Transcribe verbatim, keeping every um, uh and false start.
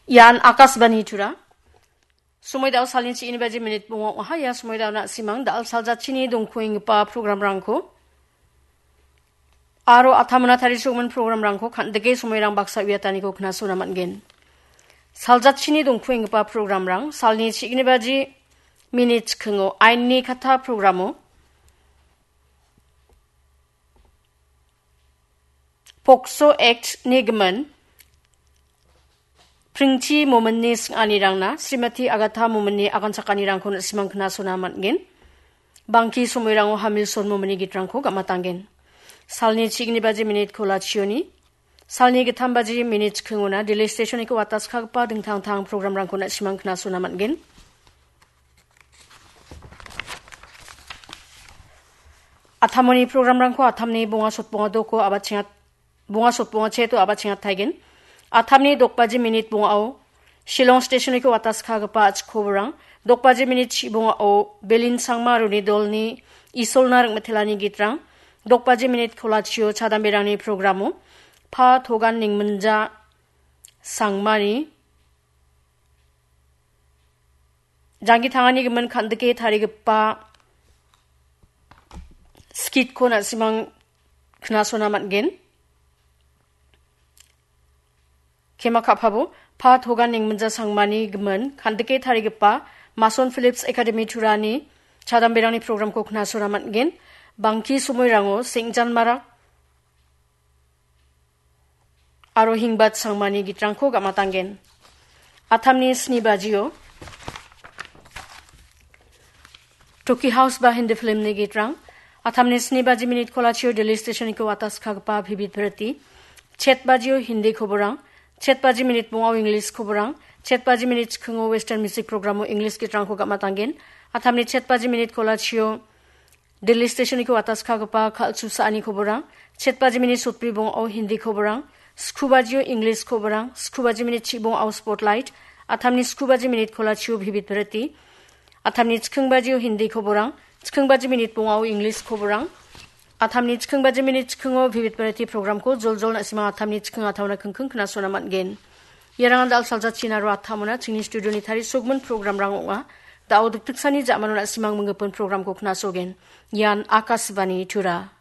Ian Akashvani Tura. Somoi dao salni chi ini baji minit bonga ong·aha. Ia somoi dao na·simang dal saljachini dongkuenggipa programrangko aro atamona tarisogimin programrangko kan·dike somoirang baksa uiataniko knasona man·gen. Saljachini dongkuenggipa programrang salni chi ini baji minit chikingo Ainni Katha programo Pokso Act ni gimin Pringchi Mominni sing·anirangna Srimati Agatha Mominni aganchakanirangko na·simang knasona man·gen. Bangki somoirango Hamilson Mominni gitrangko gam·atanggen. Salni chi ini baji minit kolachioni, salni gittam baji minit chikingona Delhi Stationiko wataskagipa dingtang tang programrangko na·simang knasona man·gen. Atamoni programrangko atamni bonga sotbonga doko abatchengat-, bonga sotbonga cheto abatchengat taigen. Atamni dok baji minit bongao Shillong Stationiko wataskagipa achikoborang, dok baji minit chi bongao Belin Sangma aro uni dolni Isolna Ringmitelani gitrang, dok baji minit kolachio chadamberangni programo Pa Togan Ningminja Sangmani janggi tangani gimin kan·dike tarigipa skitko na·simang knasona man·gen. Kema ka·pabo, Pa Togan Ningminja Sangmani gimin kan·dike tarigipa Mason Phillips Academy Turani chadamberangni programko knasona man·gen. Bangki somoirango Sengjan Marak aro Hingbat Sangmani gitrangko gam·atanggen. Atamni sni bajio Toki House ba Hindi filmni gitrang. Atamni sni baji minit kolachio Delhi Stationiko wataskagipa Bhibit Bharati. Chet bajio Hindi koborang. Chet baji minit bongao English koborang. Chet baji minit chikingo Western Music Programo English gitrangko gam·atanggen. Atamni chet baji minit kolachio Delhi Stationiko wataskagipa Kal·chu Sa·ani koborang. Chet baji minit sotbri bongao Hindi koborang. Sku bajio English koborang. Sku baji minit chi bongao Spotlight. Atamni sku baji minit kolachio Bhibit Bharati. Atamni chiking bajio Hindi koborang. Chiking baji minit bongao English koborang. Atamni chiking baji minit chikingo Bhibit Bharati programko joljol na·simang atamni chiking atamna kingking knasona man·gen. Iarangan dal saljachina aro atamona chingni studioni tarisogimin programrang ong·a. Da·o dikdiksani ja·mano na·simang minggipin programko knasogen. Ian Akashvani Tura.